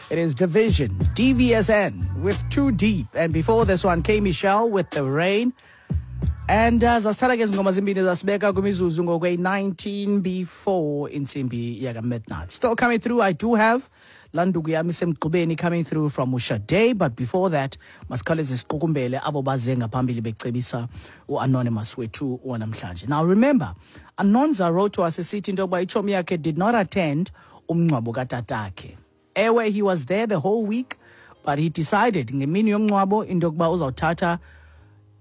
It is Division, DVSN with Too Deep. And before this one, K Michelle with The Rain. And zasithatha ke zingoma zimbini zasibeka kwimizuzu ngokwe-19 before intsimbi yaka-midnight. Still coming through, I do have landuku yami isemgqubeni coming through from uShade, but before that masikhawuleze siqukumbele abo baze ngaphambili becebisa u-Anonymous wethu wanamhlanje. Now remember, Anonza wrote to us esithi into yokuba itshomi yakhe did not attend umngcwabo katatakhe. Ewe, he was there the whole week, but he decided ngemini yomngcwabo into yokuba uzawuthatha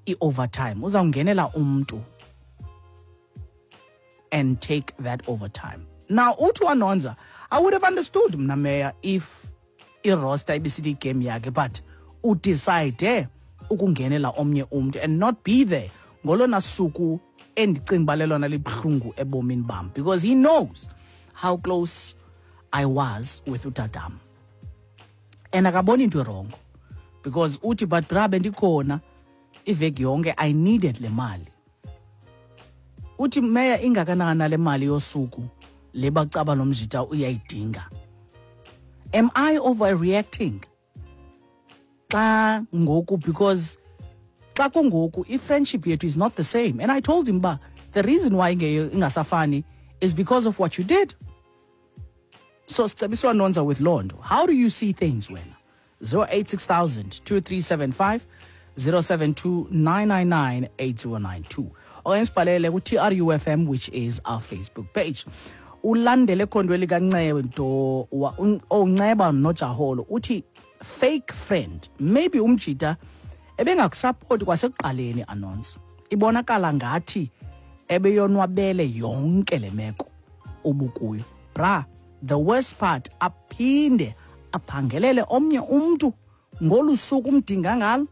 i-overtime, uzawungenela umntu and take that overtime. Now uthi uAnonza, I would have understood mna meya if iroster ibisithi igame yakhe, but udecide ukungenela omnye umntu and not be there ngolona suku endicinga uba lelona libuhlungu ebomini bam, because he knows how close I was with utatam. And akaboni into wrong, because uthi but bra bendikhona iveki yonke, I needed le mali. Uthi meya ingakanani le mali yosuku le bacaba nomjita uyayidinga. Am I overreacting? Xa ngoku, because xa kungoku i-friendship yethu is not the same. And I told him ba the reason why ingasafani is because of what you did. So sicebiswa Nonza with loo nto. How do you see things wena? 086 2375 072 999 8092. Okanye sibhalele ku-TRUFM, which is our Facebook page. Ulandele ekhondweni likaNcedo onceba noJaholo uthi fake friend, maybe umjita ebengakusupport kwasekuqaleni announce. Ibonakala ngathi ebeyonwabele yonke le meko ubukuyo. Bra, the worst part, aphinde aphangelele omnye umntu ngolu suku umdinga ngalo.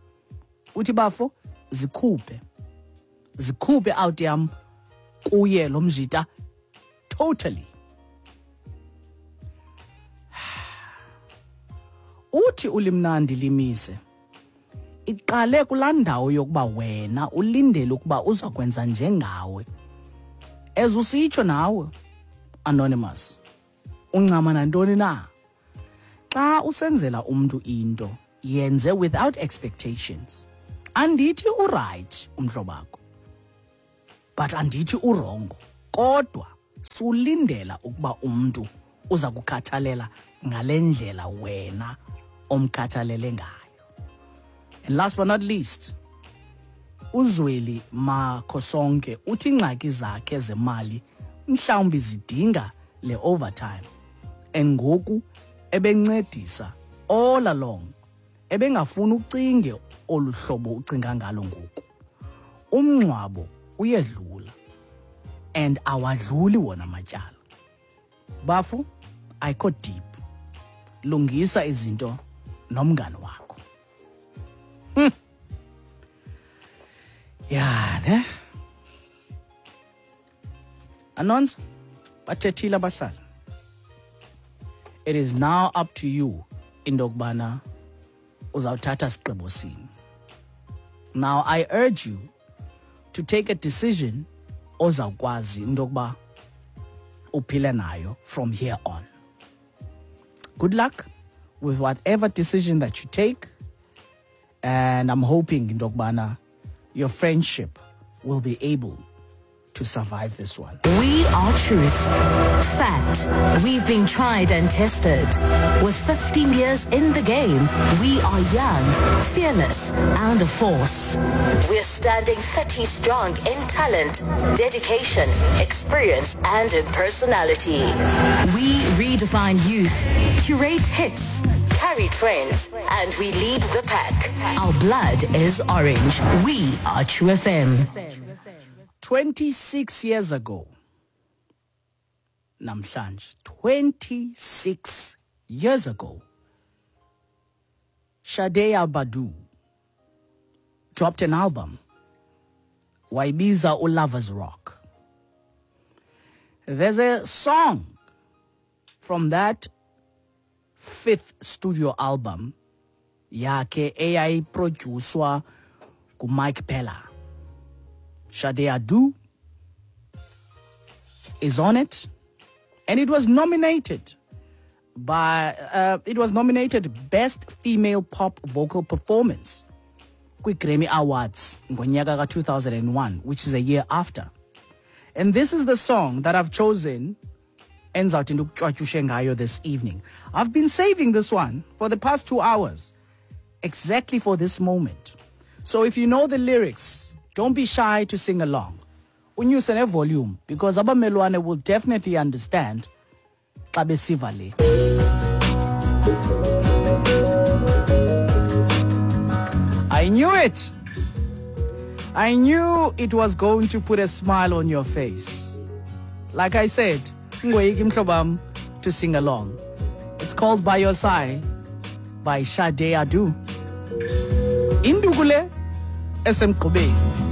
Uthi bafo zikhuphe out yam kuye lo mjita totally. Uthi ulimnandi limise iqale kulaa ndawo yokuba wena ulindele ukuba uzakwenza njengawe, as usitsho nawe Anonymous, uncama nantoni na xa usenzela umntu into, yenze without expectations. Andithi uright umhlobakho, but andithi urongo, kodwa sulindela ukuba umntu uza kukhathalela ngale ndlela wena omkhathalele ngayo. And last but not least, uZweli Makhosonke uthi ingxaki zakhe zemali mhlawumbi zidinga le overtime, and ngoku ebencedisa all along, ebengafuni ucinge olu hlobo ucinga ngalo ngoku. Umngcwabo uyedlula and awadluli wona matyala. Bafo, ayikho deep. Lungisa izinto nomngane wakho. Ya ne? Anonza, bathethile abahlali. It is now up to you into yokubana uzawuthatha sigqibo sini. Now I urge you to take a decision ozawukwazi into yokuba uphile nayo from here on. Good luck with whatever decision that you take, and I'm hoping into yokubana your friendship will be able to survive this one. We are truth. Fact. We've been tried and tested. With 15 years in the game, we are young, fearless, and a force. We're standing 30 strong in talent, dedication, experience, and in personality. We redefine youth, curate hits, carry trends, and we lead the pack. Our blood is orange. We are True FM. 26 years ago, namhlanje, 26 years ago, Sade Badu dropped an album, wayibiza uLovers Rock. There's a song from that fifth studio album yakhe eyayiproducwa nguMike Pella. Sade Adu is on it, and it was nominated by it was nominated Best Female Pop Vocal Performance kwi-Grammy Awards ngonyaka ka-2001, which is a year after. And this is the song that I've chosen endizawuthi ndikutywatyushe ngayo this evening. I've been saving this one for the past 2 hours exactly for this moment. So if you know the lyrics, don't be shy to sing along. Unyuse ne-volume because abamelwane will definitely understand xa besiva le. I knew it. I knew it was going to put a smile on your face. Like I said, ungoyiki mhlobam to sing along. It's called By Your Side by Sade Adu. Induku le esemgqubeni.